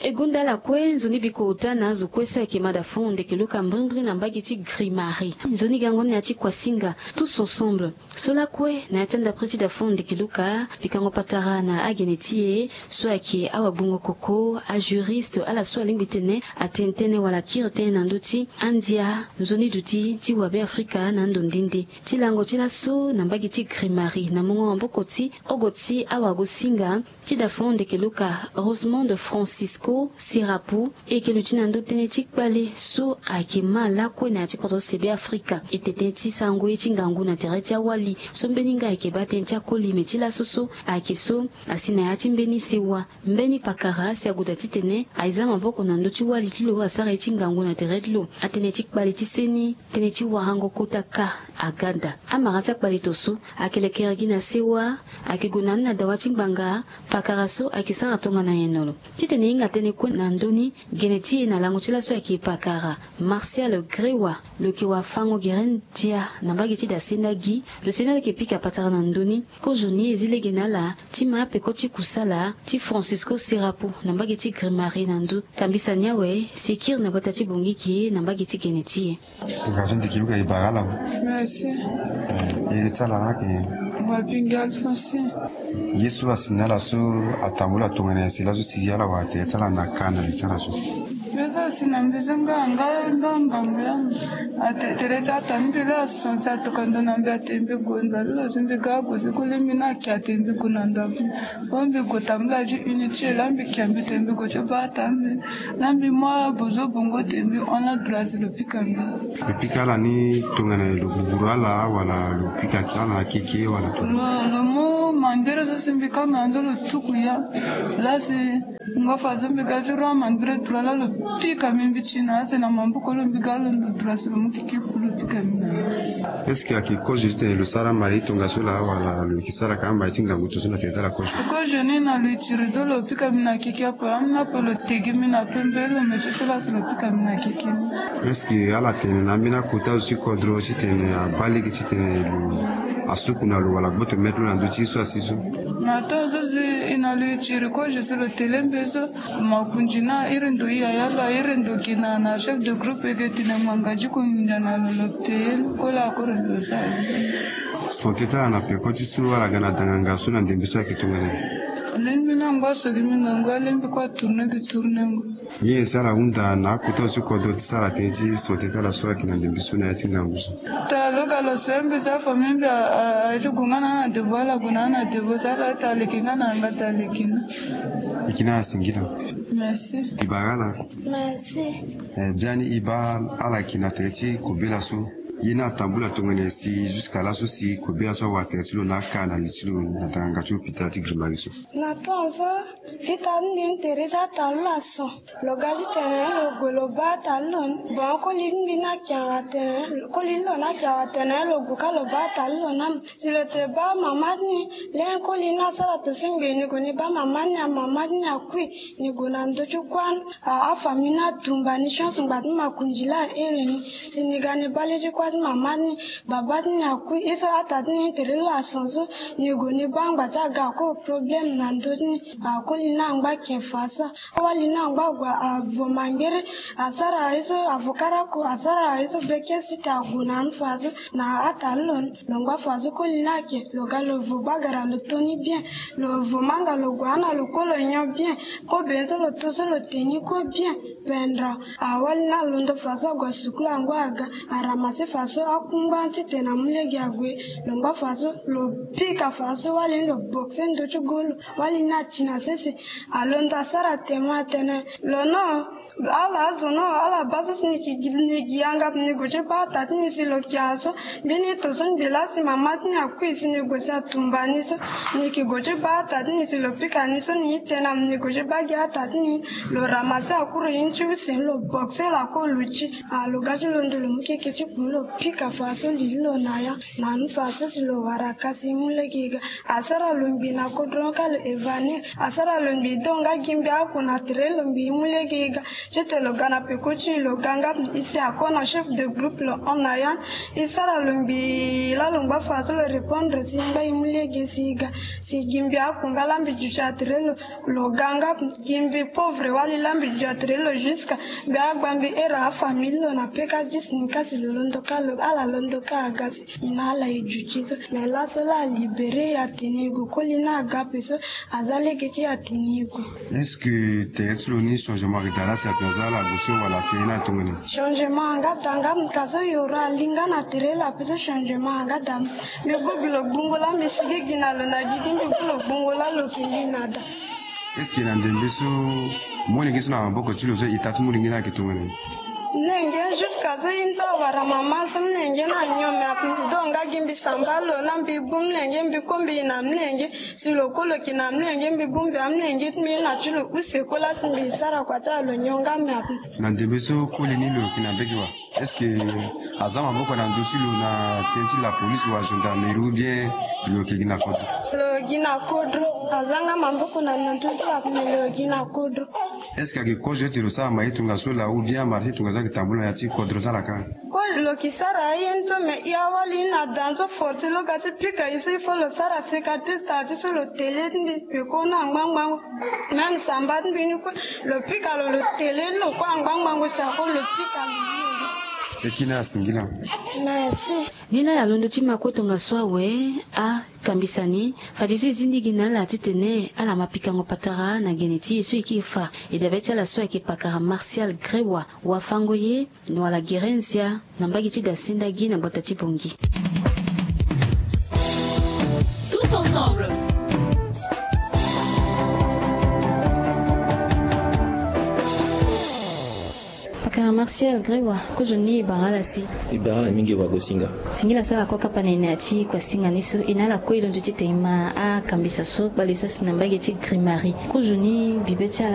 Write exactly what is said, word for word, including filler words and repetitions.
E gonda ala kue nzoni bikota na azo kue so ayeke ma da fon ndeke luka mbrimbri na mbage ti Grimari. Nzoni gango ni na ya ti Kuasinga, tous ensemble. So lakue na ya ti andapre ti da fon ndeke luka pikango patara na agene ti e so ayeke awagbongo koko, ajuriste, ala so alingbi tene atene tënë wala kiri tënë na ndö ti andia nzoni duti ti wabe Afrika na ando nde nde. Ti lango ti laso na mbage ti Grimari na mongo maboko ti ogo ti awagosinga ti da fon ndeke luka Rosemond Francisco Sirapu, e yeke luti na ndö tënë ti kpale so ayeke ma lakue na ya ti kodro sebe Afrika. E tene tënë ti sarango ye ti ngangu na tere ti awali so mbeni nga ayeke baa tënë ti akoli me ti laso so ayeke so asi na ya ti mbeni sewa. Mbeni pakara asi ague daa titene aye za maboko na ndö ti wali ti lo asara ye ti ngangu na tere ti lo. Atënë ti kpale ti seni tënë ti warango kota ka aga daa. Amara ti akpale to so ayeke lekere gi na sewa, ayeke gue na ni na dawa ti ngbanga. Pakara so ayeke sara tongana nyen na lo? Titene e hinga tënë kue na ndö ni, gene ti e na lango ti laso ayeke pakara Martial Grewa. Lo yeke wafango gere ndia na mbage ti da senda gi. Lo senda lo yeke pika patara na ndö ni. Kozo ni e zi lege na ala ti ma apeko ti kusala ti Francisco Serapo na mbage ti Grimari na ndö. Tambisa ni awe si e kiri na gbata ti Bongiki na mbage ti gene ti e. Nga so ndiki luka e bara ala. Merci. Eh, e ti ala na ke. Wa bingi Alphonsine. Ye so asi na ala so atambula tongana nyen si laso si ala wara tere ti ala na ka na li ti ala so. Yo so asi na mbi so nga nga nga ngambo ya. Ate tere ti ata mbi la so si atokua ndo na mbi ate mbi gue ndo lo so mbi ga gue so kule mbi na kia ate mbi gue na ndo. Wo mbi gue tambula ti unité la mbi kia mbi te mbi gue ti baa ata mbi. Na mbi mu abozo bongo te mbi hon la droit si lo pika mbi. Lo pika ala ni tongana lo guguru ala wala lo pika ala na keke wala tongana. Lo, lo mu mandere so si mbi kanga na ndo lo tuku ya. La si ngu afa so mbi ga ti roi mandere droit la lo pika mbi mbi ti na ase na maboko lo mbi ga lo ndo droit si lo mu keke ku lo pika mbi na. Est-ce que ayeke kozo ti tene lo sara mari tongaso laa wala lo yeke sara ka amari ti ngangu to so na tene ti ala kozo? Kozo ni na lo itiri so lo pika mbi na keke ape ameni ape lo tegi mbi na pembe lo me ti so laa si lo pika mbi na keke ni. Est-ce que ala tene na ambeni akota zo ti kodro titene abaa lege titene lo asuku na lo wala gboto maitre lo na ndö ti ye so asi so? Na temps so si e na lo itiri kozo si lo tele mbe so. Makonzi na iri ndo yaya lo a iri ndo gi na na chef de groupe eke tene ngbanga ti konginda na lo lo peye ni kue la akoro lo sara. Santé ti ala na peko ti so ala ga na danganga so na ndembe so ayeke tongana ni. Alingbi na ngba so gi mingangu alingbi kue atourne gi tournengo. Ye si ala hunda na akota so kodro ti sara tënë ti santé ti ala so ayeke na ndembe so na ya ti ngangu so. Ta lo ga lo se mbi si afamille mbi a- a- aye ti gue nga na na devoir ala gue na na devoir si ala ta leke nga na yanga ta leke na. Eke na asingi na. Merci. E bara ala. Merci. Eh, biani e baa ala yeke na tere ti kobela so. Ye ni atambula tongana nyen si jusqu'à laso si kobela so awara tere ti lo na aka na li ti lo na tanganga ti hôpital ti Grimari so. Na temps so fita ni mbi ni tere ti ata lo laso. Lo ga titene lo gue lo baa ata lo ni. Bon akoli ti mbi ni ayeke awa tene. Koli ti lo ni ayeke awa tene lo gue ka lo baa ata lo ni amu. Si lo te baa mama ti ni. Lenge koli ni asara to so ngbii ni gue ni baa mama ti ni amu mama ti ni akui. Ni gue na ndö ti kuâ ni. A- afamille ni atumba ni chance ngba ti makonzi laa ahere ni. Si ni ga ni baa le ti kuâ ti mama ti ni. Baba ti ni akui ye so ata ti ni tere lo ason so. Ni gue ni baa ngba ti aga ako problème na ndö ti ni. Akoli ni angba ken fa so. Awali ni angba gue avo mangere. Asara ye so avo karako asara ye so beke si te ague na ni fa so. Na ata lo ni lo ngba fa so koli ni ake lo ga lo vo bagara lo to ni bien. Lo vo manga lo gue ana lo ko lo nyon bien. Kobe so lo to so lo te ni ko bien. Pendra awali ni alondo fa so ague asukulu angu aga. Aramase fa so akungba titene amu lege ague. Lo ngba fa so lo pika fa so wali ni lo boxe ndo ti golo. Wali ni ati na sese. Alondo asara temo atene lo no. Ala azo no ala baa so si ni ki gi ni gi yanga ni gue ti baa ata ti ni si lo kia so. Mbeni to so ngbi laa si mama ti ni akui si ni gue si atumba ni so. Ni ki gue ti baa ata ti ni si lo pika ni so ni ite na ni gue ti baa gi ata ti ni. Lo ramase akuru ye ni ti use ni lo boxe lo ako luti. A lo ga ti londo lo mu keke ti kpun lo. Pika fa so lili lo na ya na nu fa so si lo wara kasi mu lege ga. Asara lo ngbi na kodro ka lo evanir. Asara lo ngbi do nga gi mbi aku na tere lo ngbi mu lege ga. Tete lo ga na peko ti lo ga nga isi ako na chef de groupe lo hon na ya. Isara lo ngbi la lo ngba fa so lo répondre si ngba imu lege si ga. Si gi mbi aku nga la mbi duti atere lo. Lo ga nga gi mbi pauvre wali la mbi duti atere lo jusqu'à mbi agba mbi era afamille lo na peka dix ni kasi lo londo ka lo ala londo ka aga si. Ina ala e duti so mais la so la alibéré ya tene gu koli na aga pe so. Aza lege ti ya tene gu. Est-ce que tere ti lo ni changement ayeke daa la si ape aza ala gue so wala ape ni atongana? Changement anga daa nga muka so yoro ali nga na tere la ape so changement anga daa. Mbi gue gi lo gbungo la mbi sigi gi na lo na gigi mbi gue lo gbungo la lo yeke ngi na daa. Est-ce que na ndembe so molenge so na maboko ti lo so ita ti molenge ni ayeke tongana ni? Mlenge jusqu'à so i nda wara mama so mlenge na nyon me ape mbi do nga gi mbi samba lo na mbi bu mlenge mbi kombi na mlenge. Si lo kue lo yeke na mlenge mbi bongbi amlenge ti mbi na ti lo use kue la si mbi sara kua ti ala lo nyon nga me ape. Na ndembe so koli ni lo yeke na mbege wa? Est-ce que aza maboko na ndö ti lo na tënë ti la police wa gendarmerie ou bien lo yeke gi na kodro? Lo gi na kodro. Aza nga maboko na ndö ti lo ape me lo gi na kodro. Est-ce que ayeke kozo ete lo sara maye tongaso laa ou bien amarché tongaso ayeke tambula na ya ti kodro ti ala kâ? Koli lo yeke sara aye ni so me i awali ni na daa ni so forti lo ga ti pika ye so il faut lo sara cicatrice taa ti so lo tele ti mbi peko na ngbangbango. Même samba ti mbi ni kue lo pika lo lo tele ni lo kue angba ngbangbo si ako lo pika lo. Eki na asingila. Merci. Ni laa ya londo ti ma kue tongaso awe. Akambisa ni fade so e zindigi na ala titene ala ma pikango patara na gene ti e so e kiri fa. E dabe ti ala so ayeke pakara Martial Grewa. Wafango ye. Noala Gerenzia na mbage ti dasinda gi na gbata ti bongi. Tous ensemble. Pakara Martial Grewa, kozoni e bara ala si. E bara ala mingi wagosinga. Singila so ala kue kapa na e na ya ti kuasinga ni so e na ala kue e londo ti tene ma akambisa so kpale so asi na mbage ti grimari kozoni bibe ti ala.